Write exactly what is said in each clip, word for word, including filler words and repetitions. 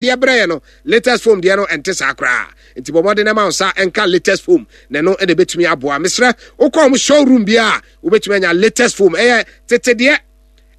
Deɛ brɛ yɛ no, latest foam deɛ no ɛnte saa koraa. Nti bɔ mmɔden ma wo nsa ɛnka latest foam na ɛno ɛna ɛbɛtumi aboa. Mesrɛ, wokɔ ɔmo showroom bi a, wobɛtumi anya latest foam. Ɛyɛ tete deɛ,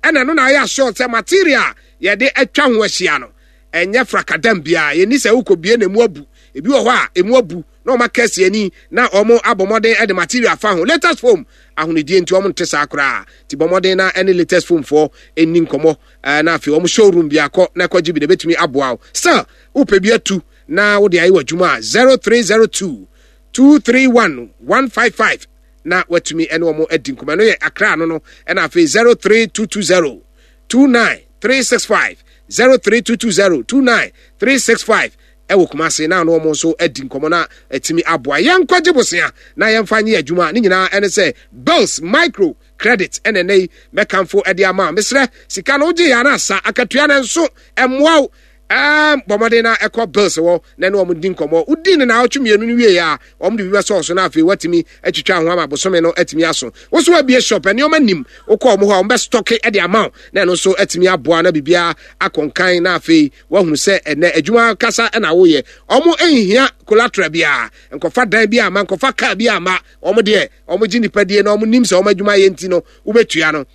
ɛna ɛno na ayɛ assured sɛ material yɛde atwa ho ahyia no ɛnyɛ frakadam biara. Yɛni sɛ wokɔ bie na emu abu. Ebi wɔ hɔ a emu abu na ɔmo aka asi ani na ɔmo abɔ mmɔden de material fa ho. Latest foam ahonidie nti ɔmo nte saa koraa. Nti bɔ mmɔden na ɛne latest foam foɔ ɛni nkɔmmɔ, ɛɛ na afei ɔmo showroom bi akɔ na ɛkɔgye bi na ebɛtumi aboa wo. Still wopɛ bi atu na wode ayɛ w'adwuma a, zero three zero two two three one one five five na watumi ɛne wɔn adi nkɔmmɔ. Ɛno yɛ Akra no no ɛna afei zero three two two zero two nine three six five, zero three two two zero two nine three six five ɛwɔ Kumase na ɔno wɔn nso adi nkɔmmɔ na atumi aboa. Yɛnkɔgye bosea na yɛmfa nyɛ adwuma ne nyinaa. Ɛne sɛ Bills Micro Credit ɛna ɛnɛ yi mɛkamfo ɛde ama. Mesrɛ, sika no wogye yɛ ana asa akatua no nso ɛmmoa wo. ɛɛm bɔ mmɔden na ɛkɔ Bills wɔ na ɛne wɔn di nkɔmmɔ. Wodi ne naawɔtwe mmienu no wie a, wɔn de bi bɛsɔɔ so na afei watumi atwitwa ho ama bosome no atumi aso. Woso abie shop, nneɛma nim, wokɔ wɔn hɔ a, wɔn bɛ stock de ama wo na ɛno nso atumi aboa na biribiara akɔnkan na afei wahunu sɛ ɛnɛ adwuma kasa ɛna woyɛ. Wɔn nhia collateral biara, nkɔfa dan bi ama, nkɔfa car bi ama wɔn deɛ. Wɔn gye nipa die na wɔn nim sɛ wɔn adwuma yɛ, nti no wobɛtua no.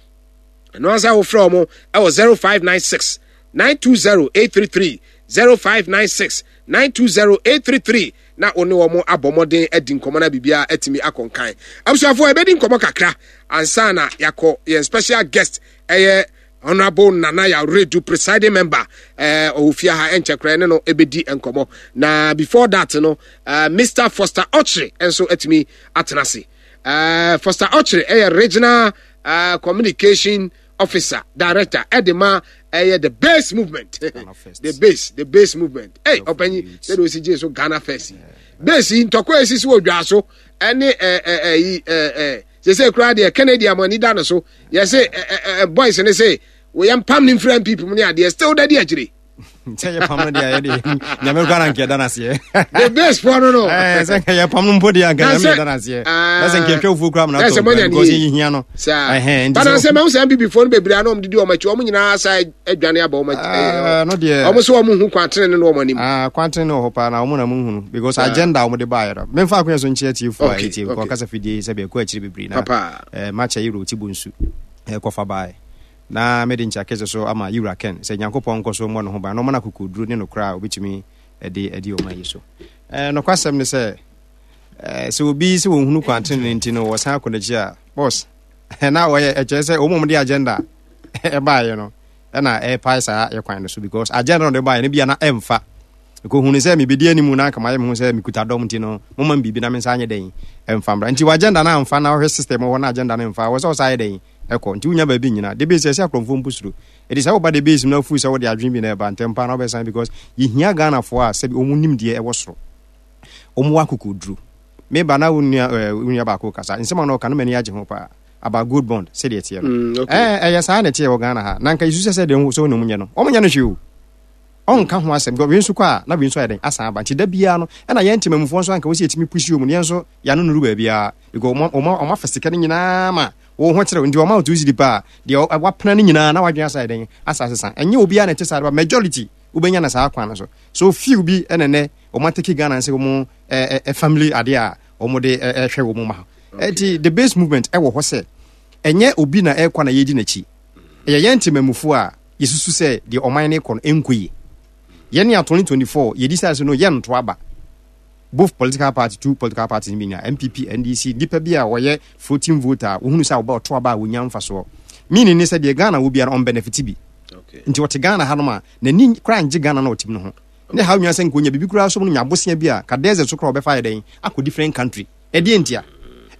Ɛno ansa wofrɛ wɔn ɛwɔ zero five nine six nine two zero eight three three, zero five nine six nine two zero eight three three na wo ne wɔn abɔ mmɔden adi nkɔmmɔ na biribiara atumi akɔ nkan. Abusuafoɔ, yɛbɛdi nkɔmmɔ kakra ansa na yɛakɔ yɛn special guest, ɛyɛ Honourable Nana Yaredu, presiding member ɛɛ ɔwɔ fie ha, ɛnkyɛ koraa ne no ɛbɛdi nkɔmmɔ. Na before that no, uh, Mister Foster Ɔkyere nso atumi atena ase. uh, Foster Ɔkyere ɛyɛ regional uh, communication officer director ɛde ma ɛyɛ The Base Movement. The base the Base Movement. Ɛy, ɔpanyin, sɛde osi gye so Ghana First yi, base yi ntɔkwa esisi wɔ dwa so ɛne ɛɛ ɛɛ ɛɛ ɛɛ sese koraa deɛ, Kennedy amani da no so, yɛsɛ ɛɛ ɛɛ boys ne se wɔyɛ mpam ne nfira N P P mu ne adeɛ, still dadi akyire. Sɛ yɛ pam no deɛ, yɛde Nyame kora na nka yɛda no aseɛ. The Base foɔ no no. Sɛ nka yɛ pam no mpo deɛ, anka Nyame yɛda no aseɛ, na sɛ nka yɛtwa fufuo kora ma no atɔ because yɛhia no. Bana sɛ mahu sɛ N P P foɔ no bebree a na ɔmdedi ɔm akyi, ɔmo nyinaa sa adwane aba ɔm akyi. No deɛ, ɔmo so ɔmo hu kwantene ne no ɔmo anim. Kwantene ne wɔ hɔ paa na ɔmo na mo nhunu because agenda a ɔmo de baeɛ no, memfa akonya so nkyerɛ tiefoɔ a ɛtie kɔ kasa fidie sɛ bɛɛkɔ akyiri bebree na makyɛ yɛwura ɔti bonsu kɔfa baeɛ na mede nkyia kɛse so ama yɛwura Ken sɛ Nyankopɔn nkɔ so mmɔ ne ho ban na ɔma no akokoduro ne nokorɛ a obɛtumi de adi ɔma yi so. Nokwasɛm ne sɛ, sɛ obi sɛ wɔhunu kwantene nti no wɔsan akɔ n'akyi a, boss, na wɔyɛ ɛkyerɛ sɛ wɔn de agenda ɛbaeɛ no ɛna ɛpae saa yɛ kwan no so because agenda no de baeɛ no bia na ɛmfa kɔhunu sɛ mebɛdi animu na anka mayɛ me ho sɛ mekuta dɔm, nti no moma m biribi na me nsa anyɛ dɛn ɛmfa mmra. Nti w'agenda no amfa na wohwɛ system hɔ na agenda no mfa wɔ sɛ wo sa ayɛ dɛn ɛkɔ. Nti wonya baabi nyina de base ɛsɛ akorɔmfoɔ mpo suro ɛdi sɛ woba de base mu na afu sɛ wode adwene bi na ɛba ntɛm paa na wobɛsan because yɛhia Ghanafoɔ a sɛbi ɔmu nim deɛ ɛwɔ soro, ɔmu wɔ akokoduro. Meba na wo nua wo nua baako kasa nsɛm a na ɔka no, m'ani agye ho paa about gold bond sɛdeɛ ɛteɛ no. Ɛyɛ saa na ɛteɛ wɔ Ghana ha na nka yɛsu sɛ sɛ deɛ sɛ wɔne mu nyɛ no, ɔmo nyɛ no hwee o, ɔnka ho asɛm because wei nso kɔ a na wei nso ayɛ dɛn asan aba. Nti da biara no ɛna yɛn ntemamufoɔ nso anka wɔsi yɛtumi pusi wɔn, yɛn nso yɛano nuru baabiara because ɔmo ɔmo ɔmo afa sika no nyinaa ma wɔn ho kyerɛw. Nti ɔmo a two cedi paa deɛ wapena no nyinaa na wadwene asa yɛ dɛn asa asesa. Ɛnyɛ obiara na ɛte saa, ba majority wobɛnya na saa kwan no so so few bi ɛna nɛ ɔmo atake Ghana sɛ ɔmo ɛ ɛ family adeɛ a ɔmo de ɛhwɛ wɔn ma. Ɛti The Base Movement ɛwɔ hɔ sɛ ɛnyɛ obi na ɛkɔ na yɛdi n'akyi, ɛyɛ yɛn ntemamufoɔ a yɛsusu sɛ deɛ ɔman no kɔ no ɛnkɔ yie. Yɛne a twenty twenty-four yɛdi sɛ so no yɛnto aba both political party, two political parties bi nya N P P, N D C, nipa bi a wɔyɛ floating voter a wohunu sɛ wɔbɛ ɔto aba a wɔnya mfasoɔ, meaning ne sɛ deɛ Ghana wɔ biara ɔn benefit bi. Nti ɔte Ghana hanom a n'ani koraa ngye Ghana na ɔte mu no ho ne ha onua sɛ nka onya biribi koraa so no nya abosea bi a ka desert so koraa ɔbɛfa yɛ dɛn akɔ different country. Ɛdeɛ ntia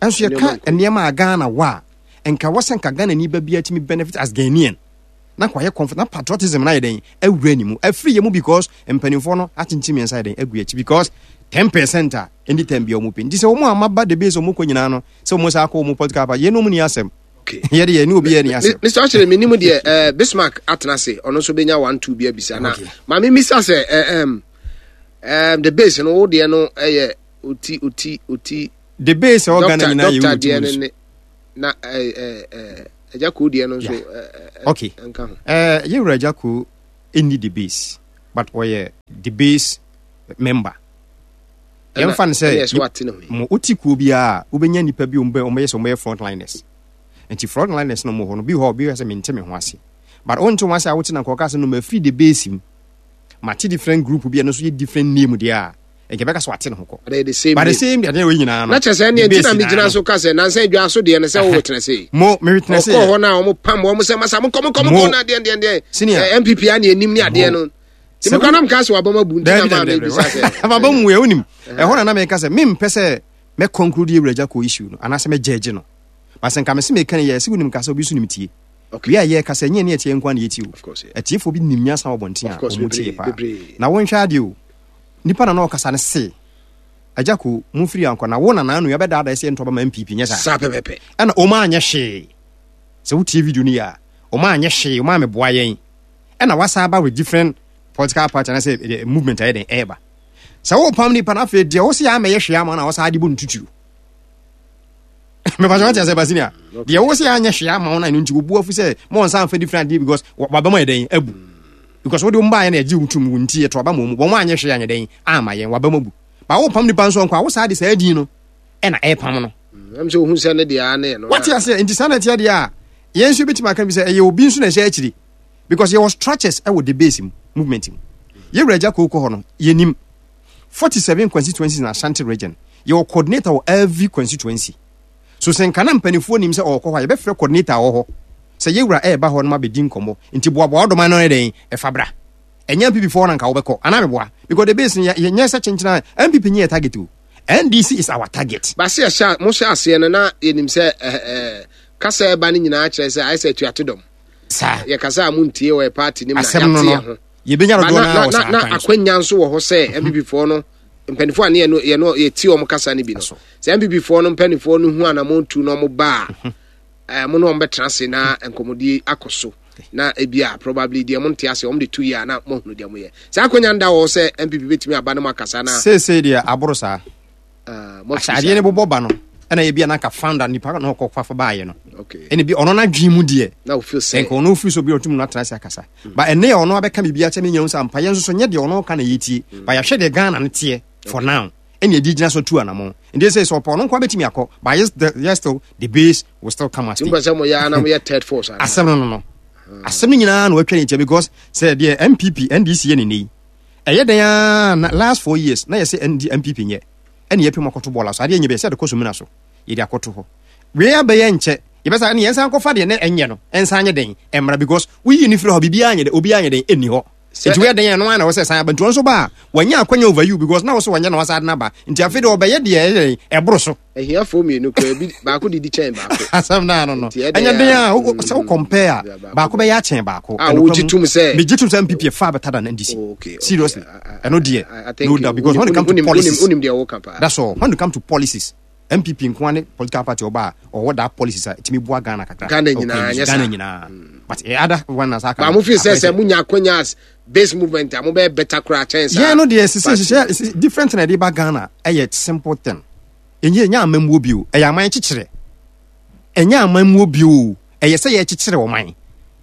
ɛnso yɛka nneɛma a Ghana wɔ a nka wɔ sɛ nka Ghana ni ba bi atumi benefit as Ghanaian na kɔ ayɛ comfort na patriotism na yɛ dɛn awura ne mu afiri yɛ mu because mpanimfoɔ no akyenkyen mmiɛnsa yɛ dɛn agu akyi because ten percent a ɛni ten bi a wɔn pɛ. Nti sɛ wɔn a maba de base wɔn kɔ nyinaa no sɛ wɔn sa akɔ wɔn political party, yɛn no mu ni asɛm yɛde yɛ ne obi yɛ ni asɛm. Mister Ɔkyerɛ, mi nim deɛ ɛɛ Bismarck atena ase, ɔno nso bɛnya one two bi abisa na maame misa sɛ ɛɛ ɛm ɛɛm The Base no, wo deɛ no ɛyɛ oti oti oti. The Base ɛwɔ Ghana nyinaa yɛ wuro deɛ no ne na ɛɛ ɛɛ Agya Koo deɛ no nso ɛɛ okay nka ho. ɛɛ yɛwura Agya Koo ɛnni The Base. But ɔyɛ the base member. Yɛmfa no sɛ mo wote kuo biara a, wobɛnya nnipa bi wɔbɛyɛ sɛ wɔbɛyɛ frontliners. Nti frontliners no mo hɔ no, bi hɔ obi hɔ sɛ mente me ho ase. But wonte ho ase a wote na nkɔka sɛ no mafiri the base mu. Mate different group bi a no nso yɛ different name deɛ a, nka bɛka sɛ wate ne ho kɔ. But the same but the same deɛ wɔ nyinaa no. Na kyerɛ sɛ ɛneɛ nti na megyina so ka sɛ nansa adwa so deɛ no sɛ wo witness yi. Mo me witness yi. Ɔkɔɔ hɔ no a wɔn pam wɔn sɛ masa monkɔ monkɔ monkɔ na deɛ deɛ deɛ. Senior. N P P a ne anim ne adeɛ no. Nti mekɔ nam ka sɛ wabam abu nti na maa mebisa sɛ. Wabam mu yɛ wonim. Ɛhɔ na na meka sɛ mempɛ sɛ mɛ conclude yɛ wura kɔ issue no anaasɛ mɛ judge no. But sɛ nka me se meka ne yɛ sɛ wonim ka sɛ obi so nim tie. Okay. Wei a yɛka sɛ nyɛ ne ɛteɛ nko a na yɛtie o. Of course, yeah. Atiefoɔ bi nim nyansa wɔ bɔnten a Of course, ɔmo tie bebree, paa. bebree. Na wonhwɛ adeɛ o. Nipa na na ɔkasa no se agya ko mumfiri ankɔ na wo nana anu yɛbɛdaadaa sɛ yɛntɔ bɛma N P P nyɛ saa. Saa pɛpɛpɛ. Ɛna ɔma anyɛ hwee. Sɛ wotie video no yɛ a, ɔma anyɛ hwee, ɔma ameboa yɛn. Ɛna wasa aba with different political party anaasɛ eh, movement ayɛ den ɛɛba. Sɛ wopam nipa no, afei deɛ wo sɛ yɛ amɛyɛ hwee ama no a, wɔsa de bɔ no tutuo. Mepɛ sɛ wate asɛ basini a deɛ wo sɛ yɛanyɛ hwee ama wo no, ɛno nti wobu afu sɛ ma wɔnsa mfa different adeɛ because wabɛma yɛ dɛn abu, because wode wo mbaeɛ na ɛgye wo tom wo nti yɛto aba ma mu, wɔn anyɛ hwee anyɛ dɛn ama yɛn, wabɛma bu ba. Wopam nipa nso nkɔ a, wo saa de saa din no ɛna ɛpam no. Ɛm sɛ ohun sɛ ne deɛ ne no. Wate aseɛ? Nti saa na ɛteɛ deɛ a, yɛn nso bɛtumi aka bi sɛ ɛyɛ obi nso na ɛhyɛ akyiri because yɛwɔ structures ɛwɔ the base mu movement mu. Yɛwura agya kooko hɔ no, yɛnim forty-seven constituencies in Ashanti Region. Yɛwɔ coordinator wɔ every constituency. So sɛ nka na mpanimfoɔ nim sɛ ɔwɔ hɔ a, yɛbɛfrɛ coordinator wɔ hɔ sɛ yɛwura ɛɛba hɔ no ma bɛdi nkɔmmɔ, nti boaboa ɔdɔman no yɛ dɛn ɛfa bra. Ɛnyɛ N P P foɔ na nka wobɛkɔ anaa meboa, because the base no yɛnyɛ sɛ kyenkyena. N P P nyɛ yɛ target o, N D C is our target. Baasi ɛhyɛ mo hyɛ aseɛ no na yɛnim sɛ ɛɛ ɛɛ kasa ɛba no nyinaa kyerɛ sɛ ayɛ sɛ atuate dɔm. Saa. Yɛkasa a montie wɔ yɛ party nim na asɛm no yɛate no yɛn ho. Yɛbɛnya Ba dodoɔ na no na wɔ na saa na kwan so. Akwanya nso wɔ hɔ sɛ N P P foɔ no mpanimfoɔ a ne yɛno yɛno yɛtie wɔn kasa no bi no, So. sɛ N P P foɔ no mpanimfoɔ no hu anamɔ tu na wɔn ba a, ɛɛ mo ne wɔn bɛtena ase na nkɔmɔdie akɔ so, na ebi a probably deɛ mo nte ase wɔn de tu yie a na mo ahunu deɛ mo yɛ. Saa akwanya nda wɔ hɔ sɛ N P P bɛtumi aba ne mo akasa na Seesei deɛ aboro saa. ɛɛ mo afiri ahyɛ adeɛ saa. no bobɔ ba no, ɛna ebi a nanka founder nipa na ɔkɔ fafa baayɛ no, okay ɛna bi ɔno n'adwene mu deɛ na o feel sɛ nka ɔno ofiri so bi ɔtum no atena ase akasa ba. Ɛnɛ yɛ ɔno abɛka biribi akyɛ me nya sɛ ampa yɛn nso so nyɛ deɛ ɔno ka na yɛtie ba, yɛahwɛ deɛ Ghana no teɛ for now, ɛne ɛdi gyina so tu anammɔn. Nti sɛ sɛ ɔpɛ ɔno nko abɛtumi akɔ, but yes, the, yes, still the base will still come as tí mo pɛ sɛ mo yɛ ana mo yɛ third force ana? Asɛm no no no asɛm no nyinaa na watwa ne nkyɛn because sɛ deɛ N P P N D C yɛ ne ne yi ɛyɛ dɛn a na last four years na yɛsɛ N D N P P nyɛ ɛne yɛpɛ mu akɔto bɔɔla so adeɛ nyɛ bɛyɛ sɛ yɛde kɔ so mina so yɛde akɔto hɔ wei abɛyɛ nkyɛ yɛbɛsa ɛne yɛnsan kɔfa deɛ ne ɛnyɛ no ɛnsan nyɛ dɛn ɛmmra because woyi ne firi hɔ, biribiara nyɛ dɛn, obiara nyɛ dɛn ɛnni hɔ. Sɛ- Nti woyɛ dɛn ɛno ara na wɔ sɛ san aba. Nti ɔno nso ba a, wanya akwanya over you because na wo so wɔnyɛ na wasa ade no aba, nti afei deɛ ɔbɛyɛ deɛ ɛyɛ dɛn ɛboro so. Ahiafoɔ mmienu kora bi, baako didi kyɛn baako. Asɛm naa no no Nti ɛdɛn ɛnyɛ den a a, wo- sɛ wo compare a, mm, baako bɛyɛ akyɛn baako. A Ɛno wogye kwa tom mu- sɛ- megye tom sɛ N P P far better than N D C. Oh, okay, okay. Seriously. I- I- Ɛno deɛ I- I think no doubt, because when it wonim- come to wonim- policies, wonim deɛ woka paa. That's all. When it come to policies, N P P nko ara ne political party ɔba a ɔwɔ that policies a ɛtumi boa Ghana kakra. Ghana Okay, nyinaa, nyɛ Ghana saa. nyinaa, but eh, other one na saa Ba mo fi sɛ sɛ monya akwanya as base movement a, mobɛyɛ better koraa kyɛn saa. Yɛn no deɛ sisi party. Hyehyɛ different na ɛde ba Ghana, ɛyɛ simple thing. Ɛnyɛ ɛnyɛ amammuo bio, ɛyɛ aman kyekyerɛ. Ɛnyɛ amammuo bio, ɛyɛ sɛ yɛkyekyere ɔman.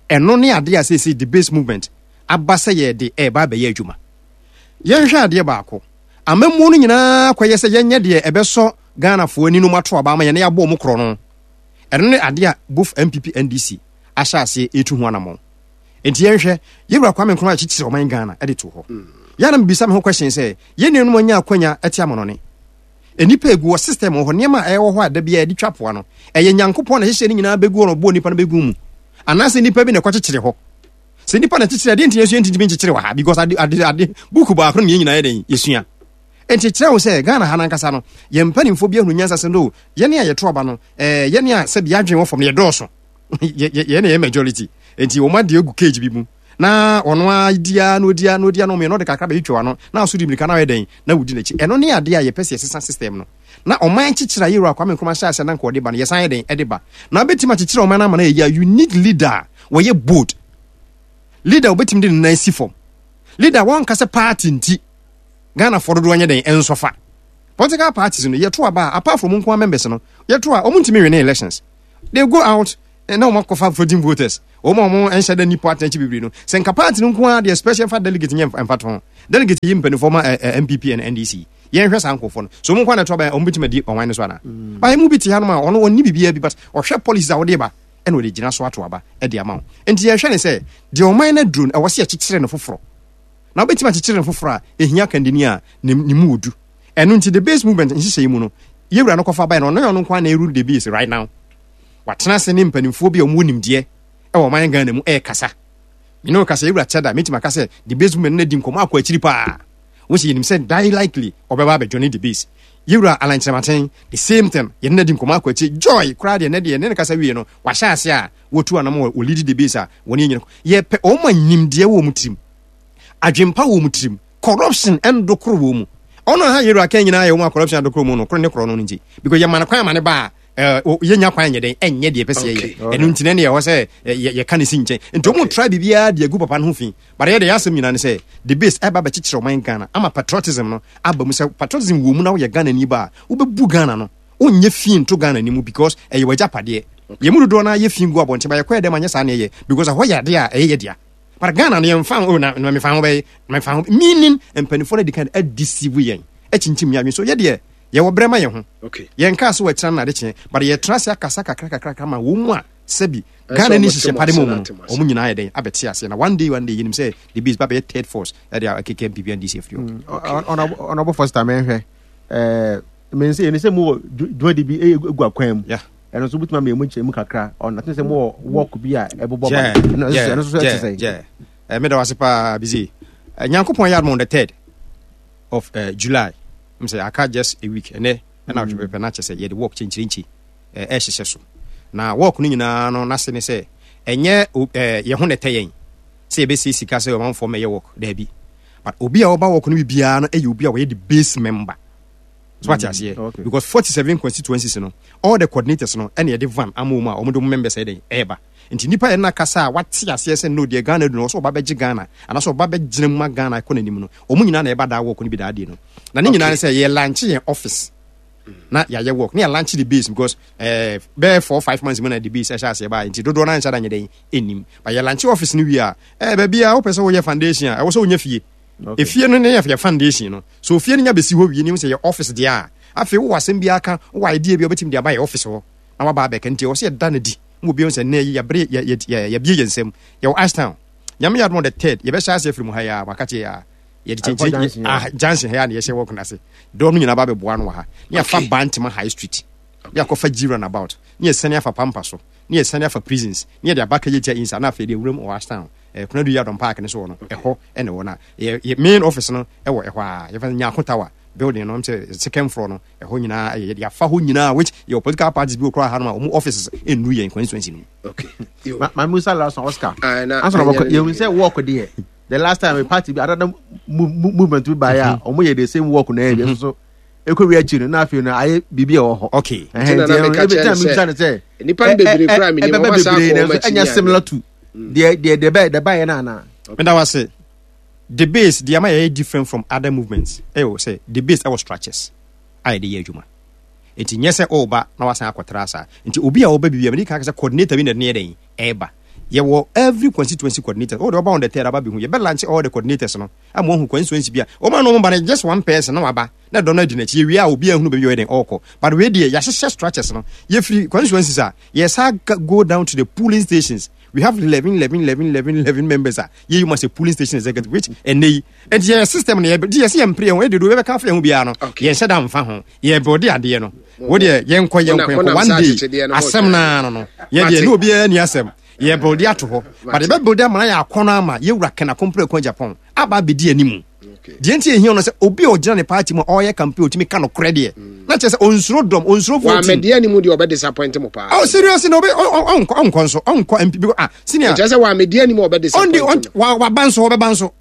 Ɛno ne adeɛ a seesei the base movement aba sɛ yɛde ɛɛba abɛyɛ adwuma. Yɛnhwɛ adeɛ baako, amammuo no nyinaa kɔyɛ sɛ yɛnyɛ deɛ ɛbɛsɔ Ghanafoɔ ani no mu ato aba ama yɛne yɛabɔ ɔmo korɔ no. Ɛno ne adeɛ a both N P P N D C ahyɛ aseɛ ɛtu ho anammɔn. Nti yɛnhwɛ yɛwura Kwame Nkrumah akyekyere ɔman Ghana ɛde to hɔ. Yɛna mebisa me ho question sɛ yɛn nuanom anya akwanya ɛte amanɔne, nnipa egu wɔ system wɔ hɔ, nneɛma a ɛwɔ hɔ a da biara yɛde twa poa no, ɛyɛ Nyankopɔn na ɛhyehyɛ ne nyinaa bɛgu hɔ na ɔbɔɔ nipa no bɛgu mu, anaasɛ nipa bi na ɛkɔkyekyere hɔ? Sɛ nipa na kyekyere adeɛ, nti yɛsua ntintimi nkyekyere wɔ ha because ade ade ade buku baako no ne yɛn nyinaa yɛ dɛn yɛsua. Nti kyerɛ wo sɛ Ghana ha nankasa no, yɛn mpanimfoɔ bi ahunu nyansa sɛ no yɛne a yɛto aba no, ɛɛ yɛne a sɛbi yɛadwene wɔ fam no yɛdɔɔso, yɛne yɛ majority, nti wɔn adeɛ agu cage bi mu na ɔno ara dia na odia na odia na ɔmo yɛ na ɔde kakra bɛyi twɛ ano na aso di mirika na ɔyɛ dɛn na wodi n'akyi. Ɛno ne adeɛ a yɛpɛ sɛ yɛsesa system no na ɔman kyekyere a yɛwura Kwame Nkrumah hyɛ ase na nka ɔde ba no, yɛsan yɛ dɛn ɛde ba na abɛtumi akyekyere ɔman no ama no yɛ yie a, you need leader a wɔyɛ bold leader a wɔbɛtumi de ne nan si fam, leader a wɔnka sɛ party nti Ghanafoɔ dodoɔ nyɛ dɛn ɛnsɔfa. Political parties no, yɛto aba a, apart from nkoa members no, yɛto a wɔn ntumi win elections. They go out Na wɔn akɔfa floating voters, wɔn a wɔn nhyɛ dɛ ni party n'akyi bebree no, sɛ nka party no nko ara deɛ, special fa delegate nyɛ mfa to delegate yi mpanimfoɔ ma ɛ N P P and N D C. Yɛnhwɛ saa nkurɔfoɔ no so, wɔn nko ara na ɛto aba, wɔn bɛtumi adi ɔwan no so ana? Ba mu bi te hanom a ɔno ɔnni biribiara bi, but ɔhwɛ policies a wɔde ba ɛna ɔde gyina so ato aba ɛde ama wo. Nti yɛhwɛ ne sɛ deɛ ɔman no aduro no, ɛwɔ sɛ yɛkyekyere no foforɔ, na wobɛtumi akyekyere no foforɔ a, ɛhia kandini a ne ne mu odu. Ɛno nti the Base Movement nhyehyɛ yi mu no, yɛwura no kɔfa bae no, ɔno yɛ ɔno nko ara na ɛrule the base right now. Watena ase ne mpanimfoɔ bi a wɔwɔ nimdeɛ ɛwɔ ɔman Ghana mu ɛrekasa. Mene wo kasa, yɛwura kyɛda mɛtumi aka sɛ the Base Movement no adi nkɔmmɔ akɔ akyiri paa. Wo sɛ yɛnim sɛ die likely ɔbɛba abɛjoin the base. Yɛwura Alan Kyerɛmaten, the same thing, yɛne no adi nkɔmmɔ akɔ akyiri. Joy koraa deɛ, ne deɛ ne ne kasa wie no, wahyɛ ase a wɔtu anam wɔ lead the base a wɔne yɛnyina. Yɛpɛ ɔma nimdeɛ wɔ mu tirim, adwempa wɔ mu tirim, corruption ɛndokoro wɔ mu. Ɔno ha yɛwura kan nyinaa yɛ wɔn a corruption adokoro mu no koro ne korɔ no no nti, because yɛma no kwan ama ne ba a, yɛnya kwan nyɛ dɛn ɛnyɛ deɛ ɛpɛ sɛ yɛyɛ. Ɛno nti ne ɛwɔ sɛ yɛka ne si nkyɛn. Nti ɔmo try biribiara de agu papa no ho fi, but yɛ de yɛ asɛm nyinaa ne sɛ the base ɛba bɛkyekyere ɔman Ghana ama patriotism no aba mu. Sɛ patriotism wɔ mu na woyɛ Ghana ni ba a, wobɛbu Ghana no, wonyɛ fi nto Ghana ni mu, because ɛyɛ w'agyapadeɛ. Yɛn mu dodoɔ no ayɛ fi gu abɔnten ba, yɛkɔyɛ dɛm anyɛ saa ne ɛyɛ because ɛhɔ yɛ adeɛ a ɛyɛ yɛ dea. But Ghana no, yɛmfa ho na na mefa ho bɛyɛ mefa ho, meaning mpanimfoɔ no adi kan adeceive yɛn, akyinkyim yɛn adwene so. Yɛ deɛ yɛwɔ brɛ ma yɛn ho, yɛn kaa so wɔakyerɛ no ade kyeɛ, but yɛtena ase akasa kakra kakra kakra ma wɔn mu a sɛbi Ghana ni hyehyɛ pade mu no, wɔn nyinaa yɛ dɛn abɛte aseɛ. Na one day, one day, yɛnim sɛ the base ba bɛyɛ third force ɛde akeka N P P N D C afiri hɔ. Ɔnabɔ first time ɛhwɛ ɛɛ mɛ nsɛ yɛn sɛ mo wɔ dwumadi bi egu akwan mu, ɛno nso wobɛtumi ama emu nkyɛn mu kakra. Ɔno ate sɛ mo wɔ work bi a ɛbobɔ ba, ɛno nso ɛte sɛ Ɛɛ meda wase paa bizi. Nyankopɔn yɛ adom, on the third of uh, July, m sɛ aka just a week ɛnɛ ɛna atwe pɛpɛ na kyɛ sɛ yɛde work kyɛnkyerɛnkyi ɛhyehyɛ so. Na work no nyinaa no n'ase ne sɛ ɛnyɛ ɛɛ yɛn ho na ɛtɛ yɛn sɛ yɛbɛsie sika sɛ ɔmanfoɔ mɛyɛ work, daabi, but obi a ɔba work no bi biara no ɛyɛ obi a wɔyɛ the base member so, wate aseɛ? Okay. Because forty seven constituencies no, all the coordinators no ɛna yɛde van ama wɔn a wɔn de wɔn members ɛyɛ dɛn ɛɛba. Nti nipa yɛn na kasa a wate aseɛ sɛ no deɛ Ghana du no, ɔsɛ ɔba bɛgye Ghana anaasɛ ɔba bɛgyina mu ma Ghana kɔ n'anim no, wɔn nyinaa na ɛba daa work no bi daa die no. Na ne nyinaa ne sɛ yɛ launch yɛn office na yɛayɛ work ne yɛ launch the base, because ɛɛ bɛyɛ four five months mu na the base ɛhyɛ aseɛ baa, nti dodoɔ naa nhyɛ da nyɛ dɛn ɛnim. But yɛ launch office no wie a, ɛɛ baabi a wopɛ sɛ woyɛ foundation a, ɛwɔ sɛ wonya fie. Okay. Efie no ne yɛ yɛ foundation no so. Ofie no nya bɛsi hɔ wie ne sɛ yɛ office deɛ a, afei wowɔ asɛm bi aka, wowɔ idea bi a wobɛtumi de aba yɛ office hɔ na waba abɛka. Nti ɛwɔ sɛ yɛda no di ma obi sɛ nnɛ yi yɛbere yɛ- yɛ- yɛ- yɛbie yɛn nsam. Yɛwɔ Ashtown. Nyame yɛ adom, on the third yɛbɛhyɛ ase afiri mu ha yi a waka kyerɛ yɛ a yɛde Akɔ kyɛnkyɛn junction, ah, junction ha yi a na yɛhyɛ work no ase. Dɔm no nyinaa ba bɛboa no wɔ ha ne yɛafa Okay. Bantama High Street ne yɛakɔfa G roundabout ne yɛsane afa Pampa so ne yɛsane afa prisons ne yɛde aba Kejetia insa na afei de awuram wɔ Ashtown eh, Kunadu Yadom Park ne so wɔ no, ɛhɔ ɛna ɛwɔ no a yɛ yɛ main office no ɛwɔ ɛhɔ a yɛfa Nyako Tower building no sɛ second floor no. Ɛhɔ nyinaa ɛyɛ yɛde afa hɔ nyinaa, which yɛwɔ political parties bi wɔ koraa ha no a wɔn offices ɛnnu yɛn constituency no mu. Okay. Yo. Ma ma musa last one, Oscar. Ah, na- Ansa na na- wɔkɔ, yɛhu sɛ work deɛ, the last time a party bi, another mo- mo- movement bi baeɛ a ɔmo yɛ the same work na ɛyɛ bi nso so ɛkɔ wi akyi no, na afei no ayɛ biribi a ɛwɔ hɔ. Okay. Ɛhɛn, Nti na nti na ɛno, meka ebi kyerɛ time no sɛ, mebisa no sɛ nnipa no ɛ- bebree ɛ- koraa menim, ɛbɛba ɔmo asa bebree akɔ na wɔn nso akyi ɛnyɛ ne similar ade. to deɛ deɛ deɛ bɛyɛ deɛ baeɛ no anaa? Meda wase. The base deɛ ama yɛyɛ different from other movements ɛwɔ sɛ the base ɛwɔ structures a yɛde yɛ adwuma. Nti nyɛ sɛ ɔreba na wasan akɔtra saa. Nti obi a ɔba biribi a mede kan sɛ coordinator bi na ɛde ne yɛ dɛn ɛreba. Yɛwɔ every constituency coordinator. Ɔde ɔba on the third aba bɛhu, yɛbɛ launch all the coordinators no ama wɔn hu constituency bi a wɔn a na wɔn ba no, just one person na waba na dɔm no adi n'akyi. Yɛwie a, obi ahunu baabi a ɔyɛ dɛn ɔrekɔ. But wei deɛ, yɛahyehyɛ structures no. Yɛfiri constituencies a yɛsa go down to the polling stations. We have eleven eleven eleven eleven eleven members a yɛyi mu as a polling station executive, which ɛnɛ yi nti yɛ system no yɛ di yɛsɛ yɛn mpere yɛn ho ɛde do yɛbɛka afɛ yɛn ho biara no. Okay. Yɛn hyɛ da nfa ho, yɛ bɔde adeɛ no wo deɛ, yɛnkɔ yɛnkɔ Mo yɛnkɔ nam one saa day akyekyedeɛ no ho asɛm twɛn. naa no no yɛ deɛ Mate. ne obiara ni asɛm, yɛ bɔde ato hɔ, but Mate. yɛbɛ bɔde ama na yɛ akɔnɔ ama yɛwura Ken Akompreko Agyapong aba abɛdi animu. Okay. Deɛ nti ehia no sɛ obi a ɔgyina ne party mu a ɔreyɛ campaign, otumi ka nokorɛ deɛ, na kyerɛ sɛ onsuro dɔm, onsuro voting. Wamɛdeɛ anim deɛ, ɔbɛ disappoint mo paa. Oh, seriously, na obi ɔnkɔ ɔnkɔ nso ɔnkɔ M P because ah, senior. Kyerɛ sɛ wamɛdeɛ anim a ɔbɛ ɔndi disappoint mo. wa waba nso, ɔbɛba nso,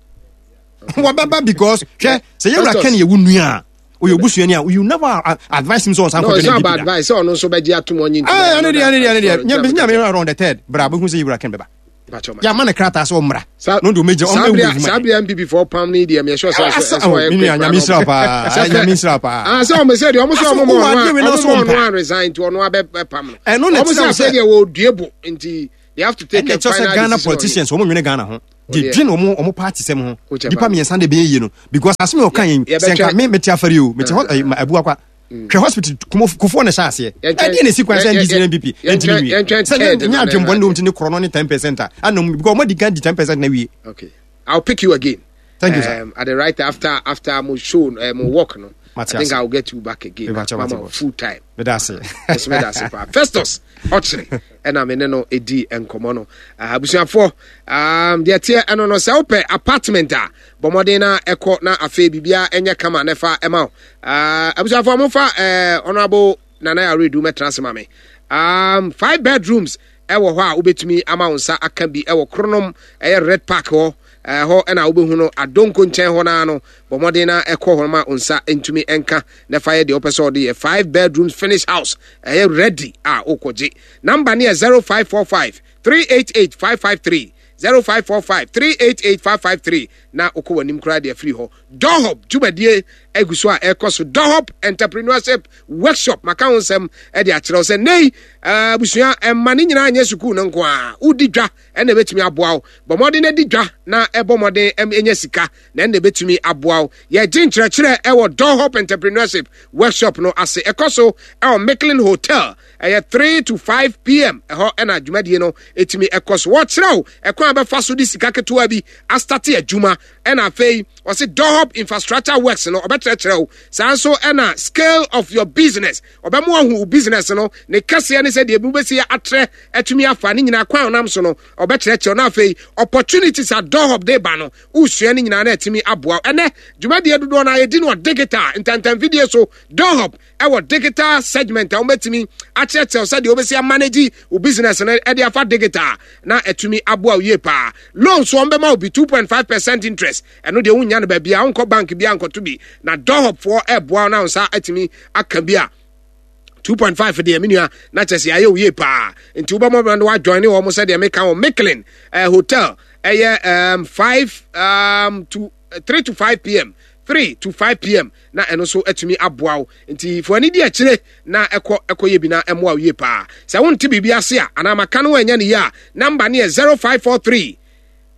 wɔbɛba, because hwɛ sɛ yɛwura Festus. Ken yɛ wo nua a ɔyɛ obusuani a, you never uh, advise him sɛ ɔnsan No, kɔdwa it's ne not N P P about da. advice sɛ ɔno nso bɛgye atom ɔnye. Ɛɛ, ɛno deɛ ɛno deɛ ɛno deɛ nyame nyame on the third bra bɛhu sɛ yɛwura Ken bɛba. Yɛama ne krataa sɛ ɔmmra na ɔde ɔmɛgya ɔmmɛwu adwuma. Saa bere N P P foɔ pam ne deɛ, meyɛ sure sɛ ɛsɛ ɔyɛ quick. Nyame nhyira paa, Nyame nhyira paa. Ah, sɛ ɔmo sɛ deɛ ɔmo sɛ ɔmo mɔ ɔno ɔmo mɔ ɔno resign nti ɔno abɛ pam no. Ɛno na ɔmo sɛ afei deɛ wɔdue bo nti they have to take a final decision. Ghana politicians, ɔmo nwene Ghana ho de dwen ɔmo ɔmo party sɛm ho. Nipa mmiɛnsa de bɛyɛ yie no, because asɛm a ɔka yɛn sɛ nka me mete afari o, mete hɔ Abuakwa hwɛ hospital Kufuor na ɛhyɛ aseɛ. Ɛdeɛ na esi kwan sɛ N D C ne N P P ɛntumi nwie sɛ nyɛ adwembɔne na wɔn ti ne korɔ no ne ten percent a anam, because ɔmo adi kan di ten percent na wie. Okay, I'll pick you again. Thank you, sir. Um, at the right after after mo show, uh, mo work no. I think I'll get you back again. Mama full time. Medase. Yes, medase pa. Festus Ɔkyere ɛna me ne no edi nkɔmɔ no. Abusuafoɔ, um, deɛ teɛ ɛno no, sɛ wopɛ apartment a, bɔ mmɔden na ɛkɔ na afei biribiara ɛnyɛ kama na ɛfa ɛma wo. Abusuafoɔ, momfa uh, Honorable Nana Aredu mɛtena ase ma me. Um, five bedrooms ɛwɔ hɔ a wobɛtumi ama wo nsa aka bi ɛwɔ Kronom, ɛyɛ Red Park hɔ. Ɛhɔ ɛna wobɛhu no, Adonko nkyɛn hɔ naa no. Bɔ mmɔden na ɛkɔ hɔ ma wo nsa ntumi nka na fa yɛ deɛ wopɛ sɛ ɔde yɛ. Five bedrooms, finish house, ɛyɛ ready a wokɔgye. Number ne yɛ zero five four five three eight eight five five three, zero five four five three eight eight five five three, na wokɔ w'anim koraa deɛ afiri hɔ. Dohop dwumadie agu so a ɛkɔ so, Dohop Entrepreneurship Workshop. Maka ho nsɛm de akyerɛ wo sɛ nnɛyi abusua ɛma ne nyinaa nyɛ sukuu no nko a wodi dwa ɛna ɛbɛtumi aboa wo. Bɔ mmɔden adi dwa na ɛbɔ mmɔden ɛnya sika na ɛna ɛbɛtumi aboa wo. Yɛgye nkyerɛkyerɛ ɛwɔ Dohop Entrepreneurship Workshop no ase. Ɛkɔ so ɛwɔ Micklin Hotel, ɛyɛ three to five p m. Ɛhɔ ɛna dwumadie no ɛtumi ɛkɔ so. Wɔkyerɛ wo ɛkwan a bɛfa so de sika ketewa bi astart adwuma, ɛna afei ɔse Dohop infrastructure works no ɔbɛkyerɛkyerɛ wo saa nso, ɛna scale of your business, ɔbɛmo ahu wo business no ne kɛseɛ ne sɛ deɛ ebi wobɛsi atrɛ atumi afa ne nyinaa kwan a ɔnam so no ɔbɛkyerɛkyerɛ. Na afei opportunities a Dohop de ba no, wosua ne nyinaa na atumi aboa wo. Ɛnɛ dwumadie dodoɔ no ayɛdi no wɔ digital ntantamfidie so. Dohop ɛwɔ digital segment a wɔbɛtumi akyerɛkyerɛw sɛdeɛ wobɛsi amanage wo business no ɛde afa digital na atumi aboa wo yie paa. Loan so wɔn bɛma wo bi two point five percent interest. Ɛno deɛ wonya no baabi a wonkɔ bank bi ankɔto bi, na Dohopfoɔ ɛboa wo na wo nsa atumi aka bi a two point five deɛ, me nua, na kyɛ sɛ ayɛ wo yie paa. Nti wobɛmɔ no wajoin ne wɔn sɛdeɛ meka wɔ Micklin eh, Hotel. Ɛyɛ um, five um, to three to five p m, three to five p m, na ɛno nso atumi aboa wo. Nti fo ani di akyire na ɛkɔ ɛkɔ yɛ bi na ɛmmoa wo yie paa. Sɛ wonte biribi ase a anaa maka no anya ne yie a, number ne yɛ zero five four three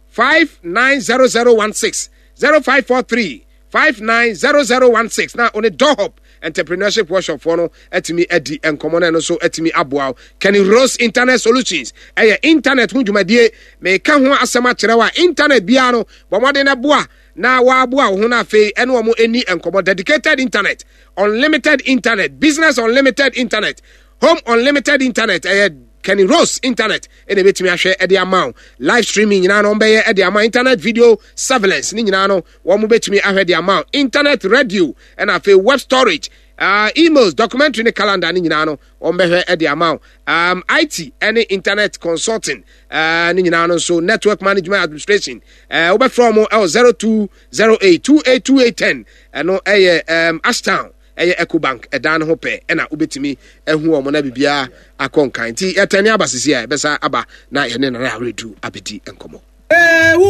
five nine zero zero one six, zero five four three five nine zero zero one six, na one Dohop Entrepreneurship Workshop foɔ no atumi adi nkɔmmɔ no. Ɛno nso atumi aboa wo. Kenny Rose Internet Solutions, ɛyɛ internet ho dwumadie. Meka ho asɛm akyerɛ wo a, internet biara no, bɔ mmɔden no boa na wɔaboa wo ho no. Afei ɛne wɔn ani nkɔmmɔ: dedicated internet, unlimited internet, business unlimited internet, home unlimited internet. Ɛyɛ Kenny Rose Internet ɛna ɛbɛtumi ahwɛ ɛde ama wo. Live streaming nyinaa no wɔbɛyɛ ɛde ama, internet video surveillance ne nyinaa no wɔn bɛtumi ahwɛ de ama wo, internet radio, ɛna afei web storage, uh, emails, documentary ne calendar ne nyinaa no wɔn bɛhwɛ ɛde ama wo. um, I T ɛne internet consulting uh, ne nyinaa no nso, network management administration, uh, wobɛfrɛ wɔn ɛwɔ zero two zero eight two eight two eight ten. Ɛno ɛyɛ um, Ashtown, ɛyɛ Ecobank ɛdan no ho pɛ ɛna wobɛtumi ahu wɔn na biribiara akɔ nkan. Nti yɛtɛne aba sisi a yɛbɛsa aba na yɛne Nana Aredu abɛdi nkɔmmɔ.